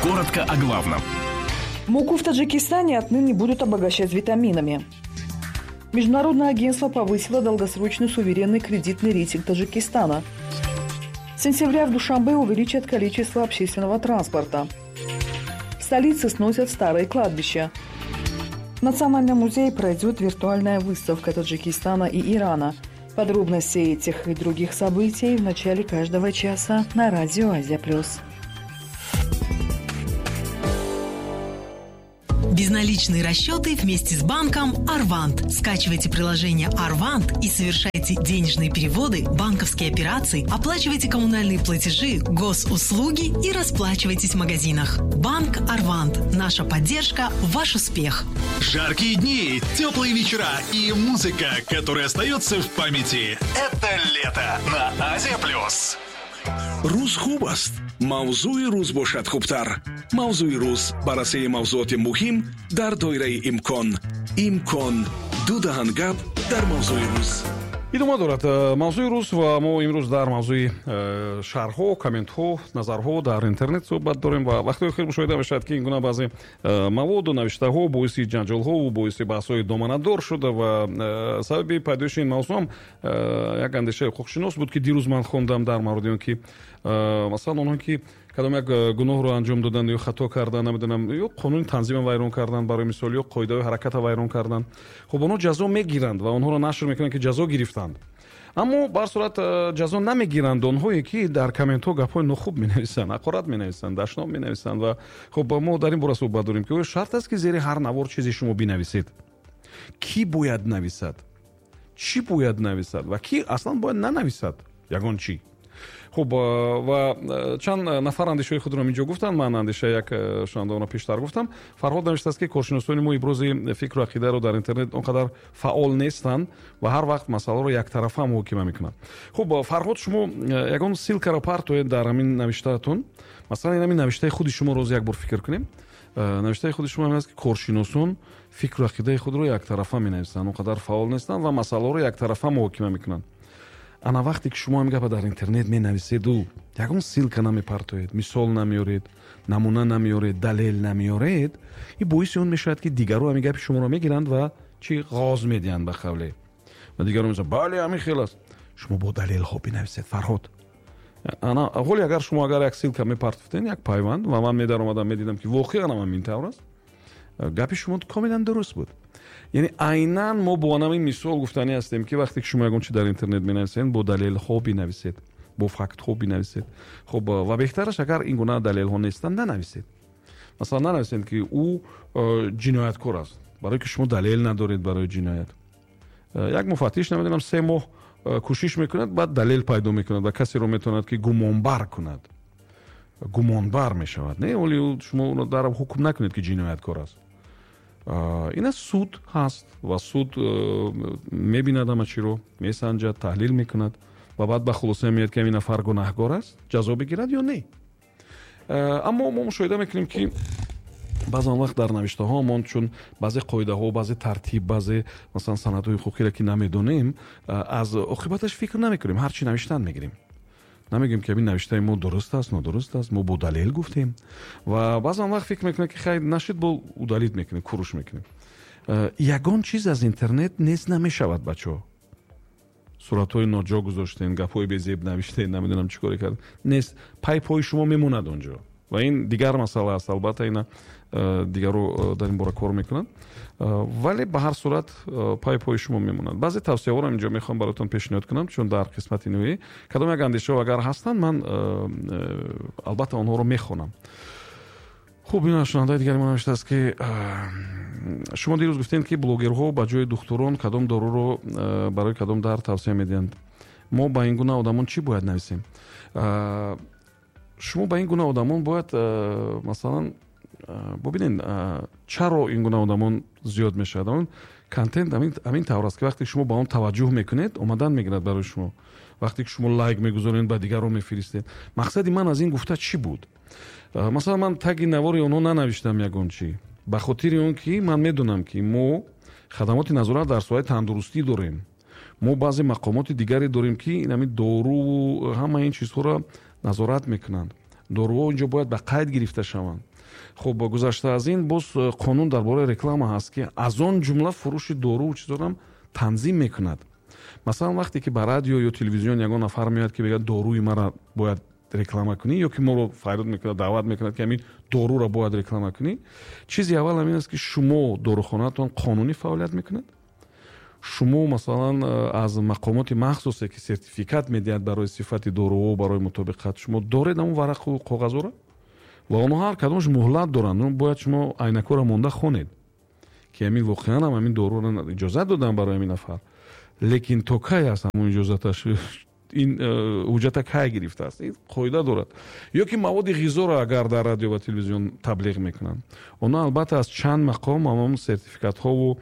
Коротко о главном. Муку в Таджикистане отныне будут обогащать витаминами. Международное агентство повысило долгосрочный суверенный кредитный рейтинг Таджикистана. С сентября в Душанбе увеличат количество общественного транспорта. В столице сносят старые кладбища. В Национальном музее пройдет виртуальная выставка Таджикистана и Ирана. Подробности этих и других событий в начале каждого часа на радио «Азия Плюс». Безналичные расчеты вместе с банком «Арвант». Скачивайте приложение «Арвант» и совершайте денежные переводы, банковские операции, оплачивайте коммунальные платежи, госуслуги и расплачивайтесь в магазинах. Банк «Арвант». Наша поддержка – ваш успех. Жаркие дни, теплые вечера и музыка, которая остается в памяти. Это лето на Азия Плюс. Рӯз хуб аст, мавзӯи рӯз бошад хубтар. Мавзӯи рӯз, баррасии мавзуоти муҳим дар доираи имкон. Имкон ду даҳан гап дар мавзӯи рӯз. Идома дорад мавзӯи рӯз ва мо имрӯз дар мавзӯи шарҳҳо, комментҳо, назарҳо дар интернет суҳбат дорем ва вақтҳои охир мушоҳида мешавад, ки ин гуна баъзе маводу навиштаҳо боиси ҷанҷолҳову боиси баҳсҳои доманадор шуда ва сабаби пайдоиши ин мавзӯъ ҳам як андешаи ҳуқуқшинос буд, ки дирӯз ман хондам дар мавриди он ки масалан онҳо ки кадом як гуноҳро анҷом доданд ё хато карданд, намедонам, ё қонуни танзима вайрон карданд, барои мисол, ё қоидаҳои ҳараката вайрон карданд, хуб, онҳо ҷазо мегиранд ва онҳоро нашр мекунанд, ки ҷазо гирифтанд. Аммо ба ҳар сурат ҷазо намегиранд онҳое, ки дар комментҳо гапҳои нохуб менависанд, ҳақорат менависанд, дашном менависанд. Ва хуб, мо дар ин бора суҳбат дорем, ки оё шарт аст, ки зери ҳар навор чизе шумо бинависед? Кӣ бояд нависад, чӣ бояд нависад ва кӣ аслан бояд нанависад ягон чӣ? Хуб, ва чанд нафар андешаҳои худро инҷо гуфтанд. Ман андешаи як шунавандаро пештар гуфтам. Фарҳод навиштааст, ки коршиносони мо ибрози фикру ақидаро дар интернет он қадар фаъол нестанд ва ҳар вақт масъаларо яктарафа муҳокима мекунанд. Хуб, Фарҳод, шумо ягон ссылкаро партоед дар ҳамин навиштаатон. Масалан, ҳамин навиштаи худи шумо роз як бор фикр кунем. Навиштаи худи шумо ҳамин аст, ки коршиносон фикру ақидаи худро яктарафа менависанд, он қадар фаъол нестанд ва масъаларо яктарафа муҳокима мекунанд. Ана вақте ки шумо ҳамин гапа дар интернет менависеду ягон ссылка намепартоед, мисол намеоред, намуна намеоред, далел намеоред, ин боиси он мешавад, ки дигарро ҳамин гапи шуморо мегиранд ва чӣ ғоз медиҳанд ба қавле. Ва дигарро мегӯянд, бале, ҳамин хел аст. Шумо бо далелҳо бинависед, Фарҳод. Ана ҳоли агар шумо агар як ссылка мепартофтед, як пайванд, ва ман медаромадам, медидам, ки воқеан ҳам ҳамин тавр аст, гапи шумо комилан дуруст буд. Яъне айнан мо бо ҳамин мисол гуфтанӣ ҳастем, ки вақте ки шумо ягон чи дар интернет менависед, бо далелҳо бинависед, бо фактҳо бинависед. Хуб, ва беҳтараш агар ин гуна далелҳо нестанд, нанависед. Масалан, нанависед, ки ӯ ҷинояткор аст, барое ки шумо далел надоред барои ҷиноят. Як муфаттиш, намедонам, 3 моҳ кӯшиш мекунад, баъд далел пайдо мекунад ва касеро метавонад, ки гумонбар кунад. Гумонбар мешавад. Не, вале шумо дар ҳукм накунед, ки ҷинояткор аст. Ин аст, суд ҳаст ва суд мебинад ҳама чиро, месанҷад, таҳлил мекунад ва баъд ба хулоса меояд, ки ҳамин нафар гунаҳгор аст, ҷазо бигирад ё не. Аммо мо мушоҳида мекунем, ки баъзан вақт дар навиштаҳоамон, чун баъзе қоидаҳо, баъзе тартиб, баъзе масалан санадҳои ҳуқуқиро ки намедонем, аз оқибаташ фикр намекунем, ҳар чи навиштан мегирем. Намегӯем, ки ҳамин навиштаи мо дуруст аст, нодуруст аст, мо бо далел гуфтем. Ва баъзан вақт фикр мекунем, ки хайр, нашид, бо удалить мекунем, куруш мекунем. Ягон чиз аз интернет нест намешавад, бачаҳо. Суратҳои ноҷо гузоштем, гапҳои безеб навиштем, намедонам чӣ коре кардем. Нест, пайпҳои шумо мемонад онҷо. Ва ин дигар масъала аст, албатта ина дигарро дар ин бора кор мекунанд. Вале ба ҳар сурат пайпҳои шумо мемонад. Баъзе тавсияҳоро инҷо мехоҳам бароятон пешниҳод кунам, чун дар қисмати ниҳоӣ кадом як андешаҳо агар ҳастанд, ман албатта онҳоро мехонам. Хуб, ин шунавандаи дигари мо навиштааст, ки шумо дирӯз гуфтед, ки блогерҳо ба ҷои духтурон кадом доруро барои кадом дард тавсия медиҳанд. Мо ба ин гуна одамон чӣ бояд нависем? Шумо ба ин гуна одамон бояд масалан бубинед, чаро ин гуна одамон зиёд мешавад. Он контент ҳамин тавр аст, ки вақте шумо ба он таваҷҷӯҳ мекунед, омадан мегирад барои шумо. Вақте ки шумо лайк мегузоред, ба дигарон мефиристед. Мақсади ман аз ин гуфта чӣ буд? Масалан, ман таги навори онҳо нанавиштам ягон чӣ, ба хотири он ки ман медонам, ки мо хадамоти назорат дар соҳаи тандурустӣ дорем. Мо баъзе мақомоти дигаре дорем, ки ин ҳамин доруву ҳама ин чизҳоро назорат мекунанд. Доруҳо инҷо бояд ба қайд гирифта шаванд. Хуб, гузашта аз ин, боз қонун дар бораи реклама ҳаст, ки аз он ҷумла фурӯши доруву чизорам танзим мекунад. Масалан, вақте ки ба радио ё телевизион ягон нафар меояд, ки мегӯяд, доруи маро бояд реклама кунӣ, ё ки моро фарёд мекунад, даъват мекунад, ки ҳамин доруро бояд реклама кунӣ, чизи аввал ҳамин аст, ки шумо дорухонаатон қонунӣ фаъолият мекунад, шумо, масалан, аз мақомоти махсусе, ки сертификат медиҳад барои сифати доруҳо, барои мутобиқат, шумо доред ҳамон варақу коғазҳоро, ва онҳо ҳар кадомаш муҳлат доранд. Бояд шумо айнакҳоро монда хонед, ки ҳамин воқеан ҳам ҳамин доруро иҷозат додам барои ҳамин нафар, лекин то кай аст ҳамон иҷозаташ, ин ҳуҷҷата кай гирифтааст, ин қоида дорад. Ё ки маводи ғизоро агар дар радио ва телевизион таблиғ мекунанд, онҳо албатта аз чанд мақом ҳамон сертификатҳову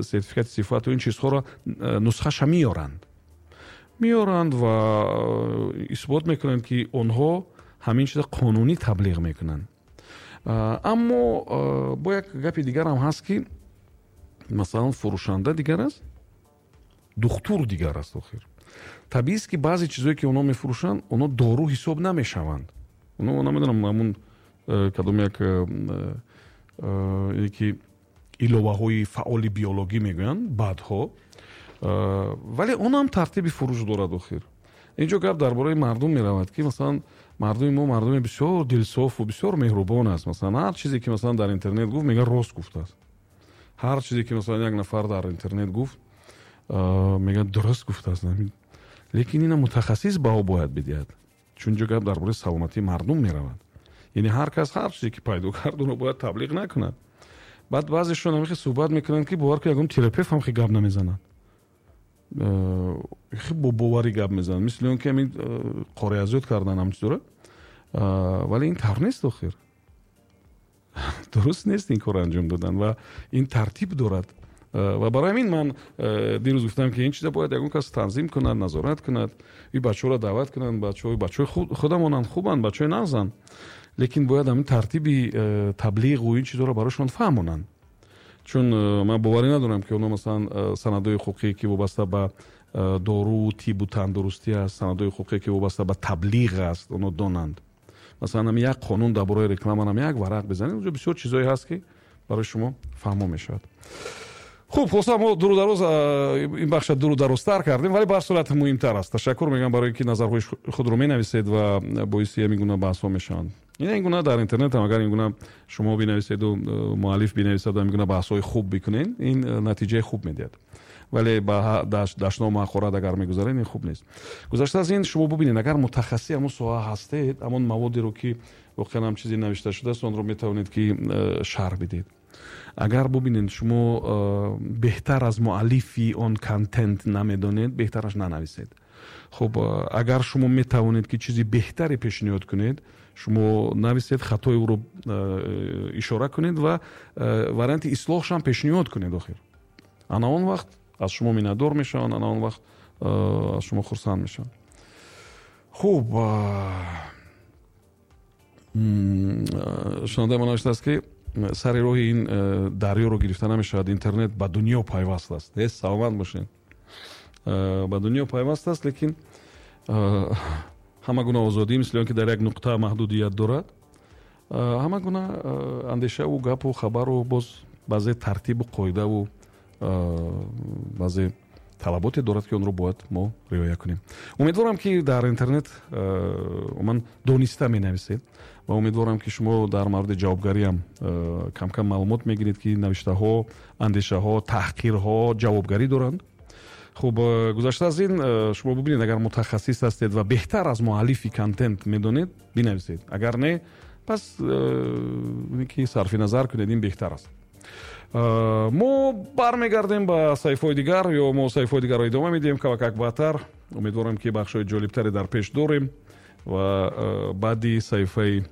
сертификати сифату ин чизҳоро нусхаша меоранд ва исбот мекунанд, ки онҳо ҳамин чиза қонунӣ таблиғ мекунанд. Аммо бо як гапи дигарам ҳаст, ки масалан, фурӯшанда дигар аст, духтур дигар аст. Охир табиист, ки баъзе чизое, ки онҳо мефурӯшанд, онҳо дору ҳисоб намешаванд. Онҳо, намедонам, ҳамун кадом як ки иловаҳои фаъоли биологӣ мегӯянд баъдҳо, вале он ҳам тартиби фурӯш дорад. Охир инҷо гап дар бораи мардум меравад, ки масалан, мардуми мо мардуми бисёр дилсофу бисёр меҳрубон аст. Масалан, ҳар чизе ки, масалан, дар интернет гуфт, мегӯяд, рост гуфтааст. Ҳар чизе ки, масалан, як нафар дар интернет гуфт, мегӯяд, дуруст гуфтааст. Лекин ина мутахассис баҳо бояд бидиҳад, чун ҷо гап дар бораи саломатии мардум меравад. Яъне ҳар кас ҳар чизе ки пайдо кард, онро бояд таблиғ накунад. Баъд баъзешон ҳамихе суҳбат мекунанд, ки бовар ку, ягон терапевт ҳам хе гап намезанад, хе бо боварӣ гап мезанад, мисли он ки ҳамин қореазёд кардан ҳам чизора. Вале ин тавр нест, охир дуруст нест ин корро анҷом додан ва ин тартиб дорад. Ва барои ҳамин ман дирӯз гуфтам, ки ин чиза бояд ягон кас танзим кунад, назорат кунад, ин бачаҳоро даъват кунанд. Бачаҳои худамонанд, хубанд, бачаҳои нағзанд, лекин бояд ҳамин тартиби таблиғу ин чизҳоро барояшон фаҳмонанд, чун ман боварӣ надорам, ки онҳо, масалан, санадҳои ҳуқуқие, ки вобаста ба дору, тибу тандурустӣ аст, санадҳои ҳуқуқие, ки вобаста ба таблиғ аст, онҳо донанд. Масалан, ҳами як қонун дар бораи рекламарам як варақ бизанед, онҷо бисёр чизҳое ҳаст, ки барои шумо фаҳмо мешавад. Хуб, хулоса, мо дуру дароз ин бахша дуру дарозтар кардем, вале ба ҳар сурат муҳимтар аст. Ташаккур мегӯям барои ин ки назарҳои худро менависед ва боиси ҳамин гуна баҳсҳо мешаванд. Ин гуна дар интернет ҳам агар ин гуна шумо бинависеду муаллиф бинависаду ҳамин гуна баҳсҳои хуб бикунед, ин натиҷаи хуб медиҳад. Вале ба дашному ҳақорат агар мегузаред, ин хуб нест. Гузашта аз ин, шумо бубинед, агар мутахассиси ҳамон соҳа ҳастед, ҳамон маводеро, ки воқеан ҳам чизе навишта шудааст, онро метавонед, ки шарҳ бидиҳед. Агар бубинед, шумо беҳтар аз муаллифи он контент намедонед, беҳтараш нанависед. Хуб, агар шумо метавонед, ки чизи беҳтаре пешниҳод кунед, шумо нависед, хатои ӯро ишора кунед ва варианти ислоҳшам пешниҳод кунед. Охир ана он вақт аз шумо миннатдор мешаванд, ана он вақт аз шумо хурсанд мешаванд. Хуб, шунавандаи мо навиштааст, ки сари роҳи ин дарёро гирифта намешавад, интернет ба дунё пайваст аст. Саломат бошед, ба дунё пайваст аст, лекин ҳама гуна озодӣ, мисли он ки дар як нуқта маҳдудият дорад. Ҳама гуна андешаву гапу хабару боз баъзе тартибу қоидаву баъзе талаботе дорад, ки онро бояд мо риоя кунем. Умедворам, ки дар интернет умуман дониста менависед ва умедворам, ки шумо дар мавриди ҷавобгариам камкам маълумот мегиред, ки навиштаҳо, андешаҳо, таҳқирҳо ҷавобгарӣ доранд. Хуб, гузашта аз ин, шумо бубинед, агар мутахассис ҳастед ва беҳтар аз муаллифи контент медонед, бинависед. Агар не, пас ки сарфи назар кунед, ин беҳтар аст. Мо бармегардем ба саҳифаҳои дигар, ё мо саҳифаҳои дигарро идома медиҳем кавакак баъдтар. Умедворам, ки бахшҳои ҷолибтаре дар пеш дорем ва баъди саҳифаи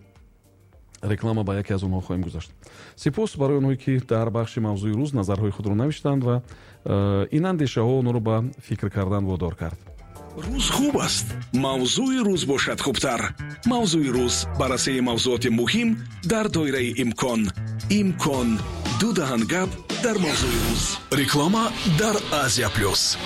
реклама ба яке аз онҳо хоҳем гузашт. Сипос барои онҳое, ки дар бахши мавзӯи рӯз назарҳои худро навиштанд ва ин андешаҳо онҳоро ба фикр кардан водор кард. Рӯз хуб аст, мавзӯи рӯз бошад хубтар. Мавзӯи рӯз: баррасии мавзӯоти муҳим дар доираи имкон. Имкон: ду даҳан гап дар мавзӯи рӯз. Реклама дар Азия Плюс.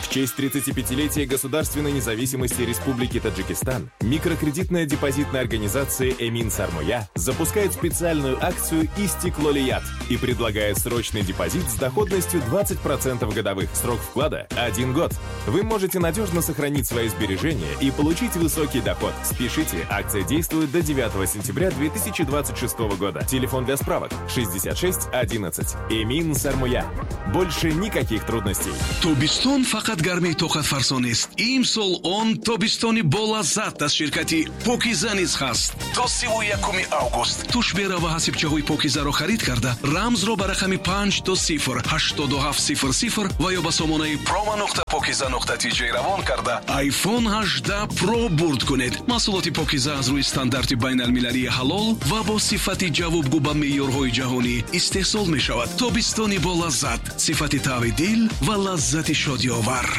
В В честь 35-летия государственной независимости Республики Таджикистан микрокредитная депозитная организация «Эмин Сармоя» запускает специальную акцию «Истиклолият» и предлагает срочный депозит с доходностью 20% годовых. Срок вклада – 1 год. Вы можете надежно сохранить свои сбережения и получить высокий доход. Спешите, акция действует до 9 сентября 2026 года. Телефон для справок 66 11. «Эмин Сармоя». Больше никаких трудностей. Тобистон фақат гармии тоқатфарсо нест. Имсол он тобистони болаззат аз ширкати Покиза низ ҳаст. То 31 август тушбера ва ҳасибчаҳои Покизаро харид карда, рамзро ба рақами 5 до 0 87 00 ва ё ба сомонаи promo.pokiza.tj равон карда, iPhone 18 Pro бурд кунед. Маҳсулоти Покиза аз рӯи стандарти байналмилалии ҳалол ва бо сифати ҷавобгӯ ба меъёрҳои ҷаҳонӣ истеҳсол мешавад. Тобистони болаззат, сифати тави дил ва лаззати шодиовар.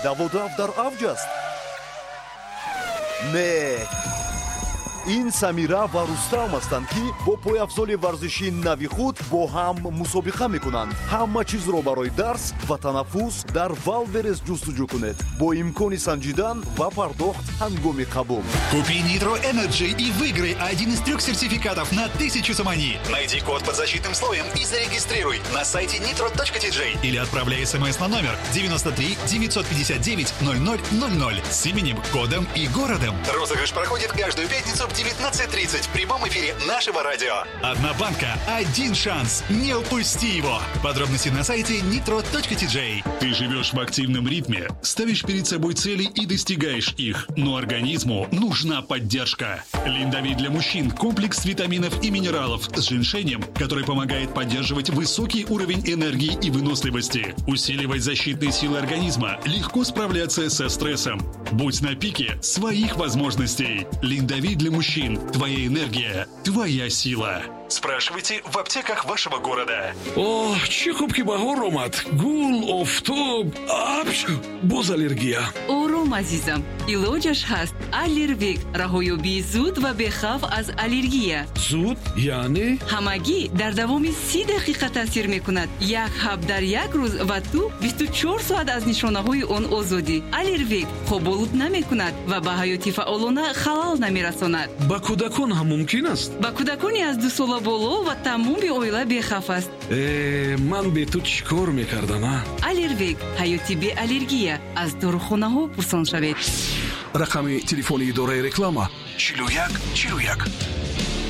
Даводав дар авҷ аст? Не, ин Самира ва Рустам ҳастанд, ки бо пойафзоли варзишии нави худ бо ҳам мусобиқа мекунанд. Ҳама чизро барои дарс ва танаффус дар Валберес ҷустуҷӯ кунед, бо имкони санҷидан ва пардохт ҳангоми қабул. Купи Nitro Energy и выиграй один из трех сертификатов на 1000 сомони. Найди код под защитным слоем и зарегистрируй на сайте nitro.tj или отправляй смс на номер 93 959 0000 с именем, кодом и городом. Розыгрыш проходит каждую пятницу в 19:30 в прямом эфире нашего радио. Одна банка, один шанс. Не упусти его. Подробности на сайте nitro.tj. Ты живешь в активном ритме, ставишь перед собой цели и достигаешь их. Но организму нужна поддержка. Линдовит для мужчин – комплекс витаминов и минералов с женьшенем, который помогает поддерживать высокий уровень энергии и выносливости, усиливать защитные силы организма, легко справляться со стрессом. Будь на пике своих возможностей. Линдовит для мужчин. Твоя энергия, твоя сила. Спрашивайте в аптеках вашего города. Оҳ, чӣ хуб, ки баҳор омад. Гул, офтоб, апч, боз аллергия. Ором, азизам, илоҷаш ҳаст. Аллервек — раҳоёбии зуд ва бехавф аз аллергия. Зуд яъне? Ҳамагӣ дар давоми 30 дақиқа таъсир мекунад. Як ҳаб дар як рӯз, ва ту 24 соат аз нишонаҳои он озодӣ. Аллервек хоболуд намекунад ва ба ҳаёти фаъолона халал намерасонад. Ба кӯдакон ҳам мумкин аст? Ба кӯдакони аз 2 сола боло ва тамоми оила бехавф аст. Э, ман бе ту чӣ кор мекардам, а? Аллервек — ҳаёти беаллергия. Аз дорухонаҳо пурсон шавед. Рақами телефони идораи реклама: 41 41.